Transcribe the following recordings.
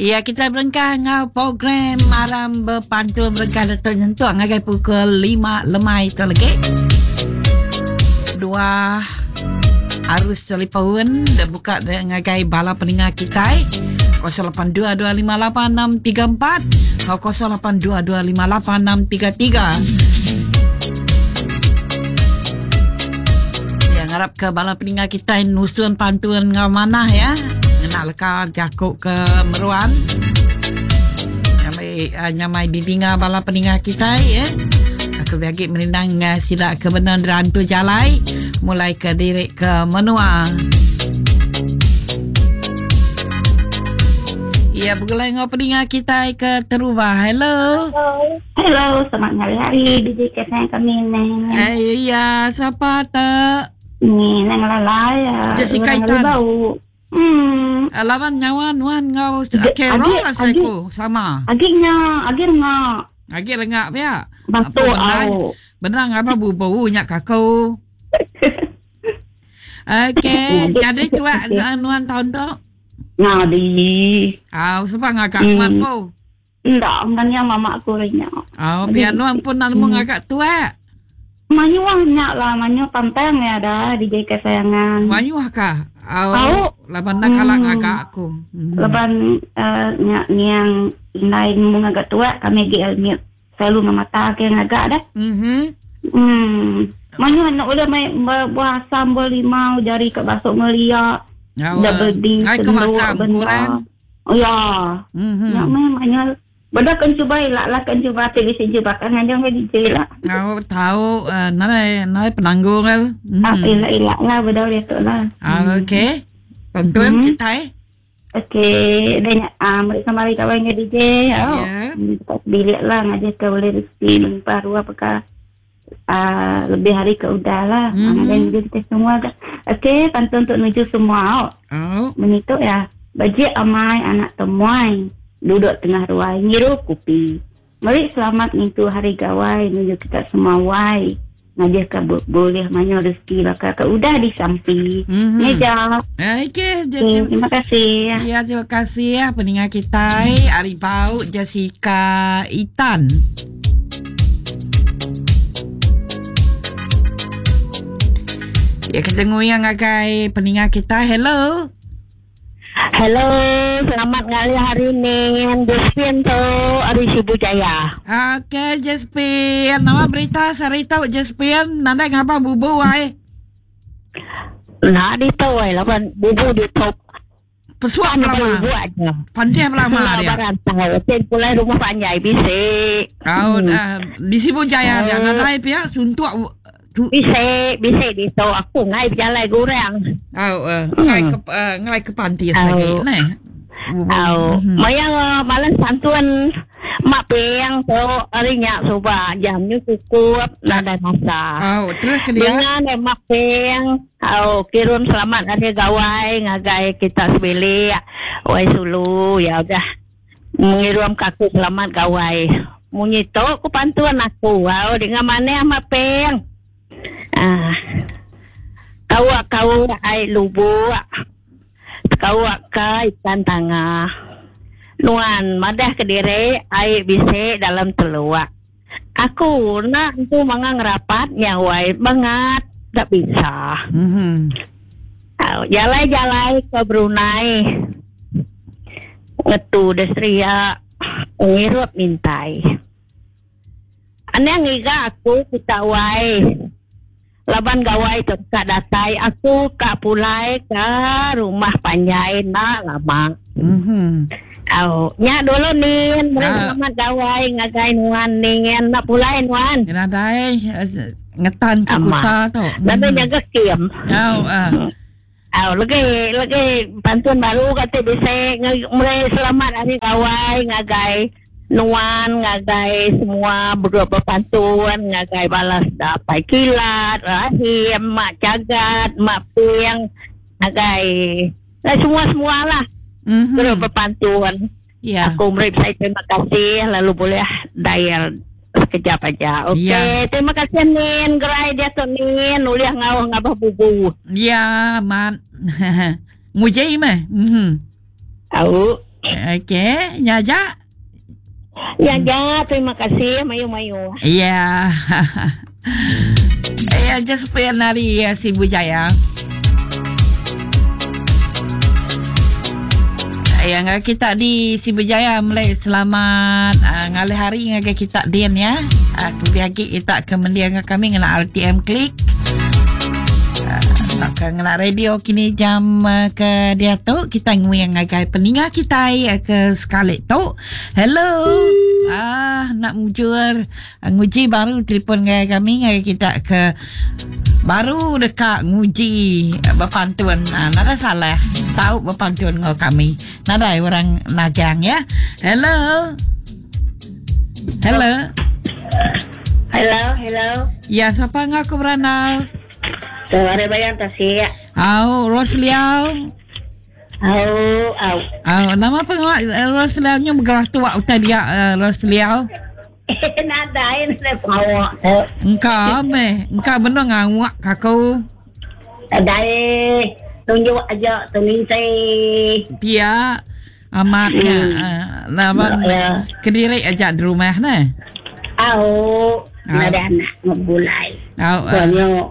Ya kita berengkah enggau program Aram Bepantun berengkah letu nyentuk ngagai pukul 5 lemai tu lagi. Dua arus telefon dah buka ngagai bala peninga kitai 0822586634 atau 0822586633. Ya ngarap ke bala peninga kitai nusun pantun enggau manah ya. Ngena leka jaku ke meruan. Nyamai uh, nyamai didinga bala peninga kitai ya. Aku biagi merindang uh, sida ke benar rantu jalai mulai ke diri ke menua. Ya, begulai enggau peninga kitai ke terubah. Hello. Hello. Hello, selamat ngalih hari DJ kesayangan kami ni. Eh, iya, siapa tu? Ni nang lalai ya. Jessica Itan. Bau. Hmm. Eh, laban nyawa nuan enggau Carol lah saya ku sama. Agi nya, agi rengak. Agi rengak pia. Batu au. Benar ngapa bubu nya kaku. Okey, jadi tua nuan tahun tu? Ngadi. Au, sebab ngagak hmm. nuan po. Enda, enggak nya mama aku nya. Au, biar nuan pun nak nemu hmm. ngagak tua. Mayuh nya lah, mayuh pantang ya dah DJ kesayangan. Mayuh kah? Au, Au. laban nak kalah hmm. ngagak aku. Hmm. Laban uh, nya ngiang indai nemu ngagak tua kami gi elmit. Selalu ngemata ke ngagak dah. Mhm. Hmm. Mayuh anak ulih mai buah asam, buah limau, jari ke basuk ngelia. Dah bedi Ngai ke masam kurang. Oh ya. Mhm. Nya meh mayuh. Beda kan cuba ila lah kan cuba ti bisi cuba kan ngajung ke DJ lah. Tahu tahu uh, nai nai penanggung kan. Mm. Ah ila ila lah beda dia tu lah. Ah hmm. okey. Tonton hmm. kita eh. Okey, dan ah uh, meri kembali kawan dengan DJ. Oh. Yeah. Tak bilik lah ngajar ke boleh rezeki melimpah ruah perkara uh, lebih hari ke udah lah. Mm-hmm. Dan kita semua. Okey, pantun untuk menuju semua. Oh. oh. Menitu ya. Bajik amai anak temuai. Duduk tengah ruai ngirup kopi. Meri selamat ngintu hari gawai nuju kita semua wai. Ngajih ka bulih mayuh rezeki baka ke udah disampi. Mm-hmm. Ngeja. Okey, okay, terima kasih. Ya, terima kasih ya peninga kitai ari Bau Jessica Itan. Ya, kita nguyang ngagai peninga kita. Hello. Hello, selamat ngalih hari ni. Josephine tu ari Sibu Jaya. Okey, Josephine. Nama berita sehari tu, Josephine? Nadai ngapa bubu ai? Nah, ditu ai laban bubu ditu. Pesuak belama. Bubu aja. Pandai belama dia. Barantau. Sen pulai rumah panjai bisi. Kau hmm. uh, di Sibu Jaya dia nadai pia suntuk Bisi, bisi ditu aku ngai bejalai gurang. Au, uh, ngai ke uh, ngai ke panti lagi neh. Au, hmm. maya malam santun mak peng tu hari nya suba jam nyu cukup nadai masa. Au, terus ke dia. Dengan mak peng, au kirim selamat hari gawai ngagai kita sebilik. Wai sulu ya udah. Ngirum ka aku selamat gawai. Munyi tu ku pantun aku. Au dinga manah mah peng. Ah. Kawa kau ai lubuk. Kawa ka ikan tangah. Nuan madah kediri ai bisi dalam teluk. Aku enda entu manga ngerapat nya wai bangat da bisa. Mm-hmm. Au jalai-jalai ke Brunei ngetu da Seria ngirup mintai. Anang ngiga aku kita wai laban gawai tu ka datai aku ka pulai ka rumah panjai enda lama. Mm-hmm. Au nya dulu nin meri Ah. selamat gawai ngagai nuan nin enda pulai nuan. Nadai eh, ngetan ke Amat. kuta tu. Lalu nyaga skim. Au ah. Au legi legi pantun baru kati bisi meri selamat hari gawai ngagai nuan ngagai semua begrup bepantun ngagai bala sida Apai Kilat, Rahim, Mak Chagat, Mak Ping ngagai semua-semua lah Mhm. grup bepantun. Ya. Aku meri besai terima kasih lalu boleh dial sekejap aja. Okey, Ya. terima kasih Nin. Gerai dia tu Nin. Ulih ngauh ngabah bubu. Ya, mat. Nguji meh. Mhm. Au. Okey, nya aja. Nya aja, terima kasih mayuh-mayuh. Ya. Ya, Josephine ari eh, Sibu Jaya. Ya, ngagai kita di Sibu Jaya melai selamat uh, ngalih hari ngagai kita din ya. Uh, lebih agi kita ke mendia dengan kami ngena RTM Klik. Uh, ke ngena radio kini jam uh, ke dia tu kita nguing ngagai peninga kita uh, ke sekali tu. Hello. Ah, nak mujur Nguji baru telefon ngagai kami ngagai kita ke baru deka nguji bepantun. Ha, nadai salah. Tau bepantun enggau kami. Nadai orang nagang ya. Hello. Hello. Hello, hello. Ya, siapa enggau aku berandau? Suara bayang tasik. Au, Rosliau. Au, au. Au, nama pengawa eh, Rosliau nya bergerak tua utai dia eh, Rosliau? Nadai nadai pengawa tu. Engka meh, engka benung ngawak ka aku. Nadai tunjuk aja tu nginti. Pia amat nya hmm. Laban ya. kediri aja di rumah neh. Au, nadai anak ngegulai. Au. Uh.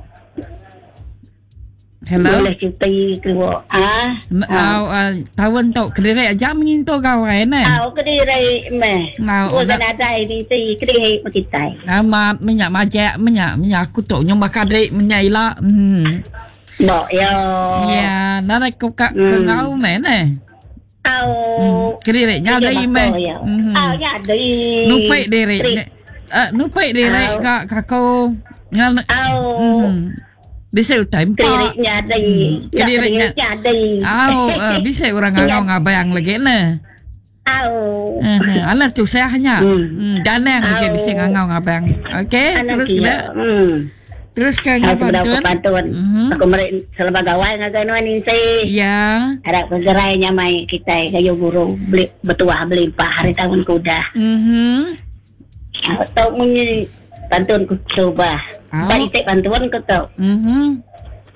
Hello. Boleh cuti keluar. Ah. Au uh, tahun tu kediri aja mengintu gawai ne. Au kediri meh. Au kan ada ini ti kediri kitai. Amat minyak majak minyak minyak aku tu nyum bakal dek minyak ila. Hmm. Bok yo. Ya, narai ku ka ke ngau meh ne. Au. Hmm. Kediri nya dai meh. Hmm. Au nya dai. Nupik diri. Uh, nupik diri ka kaku. Ngal. Au. Hmm. Bisi utai empa. Kediri nya dai. Hmm. Kediri nya dai. Au, uh, bisi orang ngangau ngabang lagi ne. Au. Uh, alah tusah nya. Hmm. Hmm. Danang lagi bisi ngangau ngabang. Okey, terus kena. Hmm. Terus ke Aku ngau bedau ke pantun. pantun. Mhm. Aku meri selamat gawai ngagai nuan Insi. Ya. Harap kegerai nyamai kitai gayu guru beli betuah belimpah hari tahun ke udah. Mhm. Tu munyi pantun ku terubah. Au. Ba iti pantun ku tu. Mhm.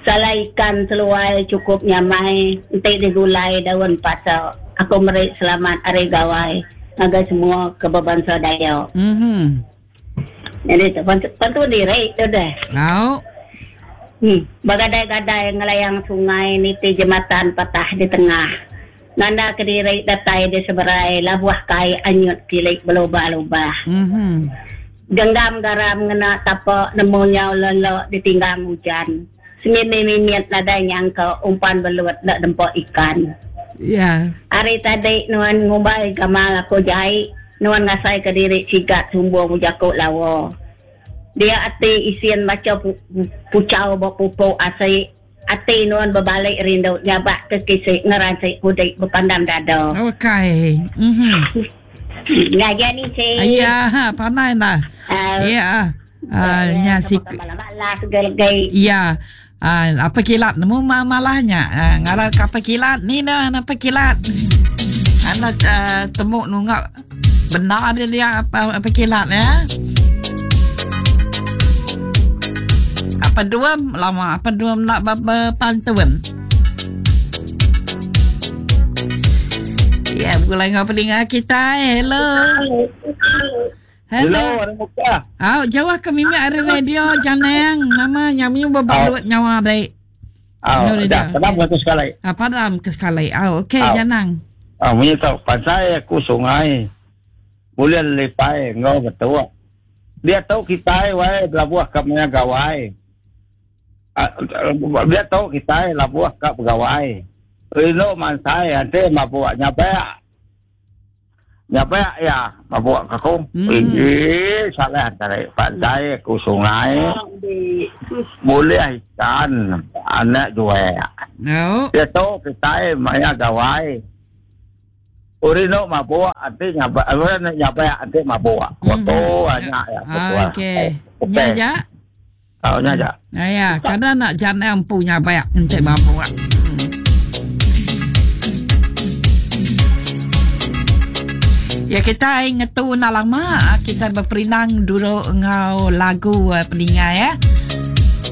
Salai ikan seluai cukup nyamai enti digulai daun pasa. Aku meri selamat hari gawai ngagai semua ke bebansa Dayak. Mhm. Jadi tu pantun diri tu deh. Au. Hmm. Begadai-gadai ngelayang sungai niti jematan patah di tengah. Nanda kediri datai di seberai labuh kai anyut kilik belubah-lubah. Mhm. Genggam garam ngena tapa nemu nyau lelok ditinggang ujan. Semimi mimit nadai nyangka umpan belut enda dempa ikan. Ya. Ari tadi nuan ngumbai gamal aku jai, nuan ngasaika diri sigat sumbung bejaku lawa. Dia ati isin macha puchau ba pupuk asi, ati nuan bebali rindu nyabak ke kisi ngeransi kudik bepandam dada. Okey. Mhm. Ngajar ni si. Ya, pandai nah. Ya. Uh, nya si Ya. Uh, apa kilat nemu malahnya. Uh, ngara ke apa kilat ni dah apa kilat. Anak uh, temu nungak benar dia dia apa apa kilat ya. Apa dua lama apa dua nak berpantun. Ya, mulai ngau pelinga kita. Hello. Hello. Hello, muka. Au, jauh ke mimi ari radio janeng. Nama nyami bebalut nyawa dek. Au, dah, padam ke sekali. Ah, padam ke sekali. Au, okey janang. Ah, munyi tau pasai aku sungai. Boleh lepai ngau betul. Dia tahu kita wai belabuh ke maya gawai. Dia tahu kita labuh ke pegawai. Rindu mansai nanti mabuk nyapek. Nyapek ya mabuk aku. Eh salah tarik pandai aku sungai. Boleh ikan anak jual. No. Dia tahu kita maya gawai. Urino mabuk nanti nyapek, urino nyapek nanti mabuk. Waktu anak ya. Okey. Nya ja. Oh, nya ja. Ya, kadang nak jangan punya banyak nanti mabuk. Ya kita ngetu nak lama kita berperinang dulu ngau lagu peninga ya.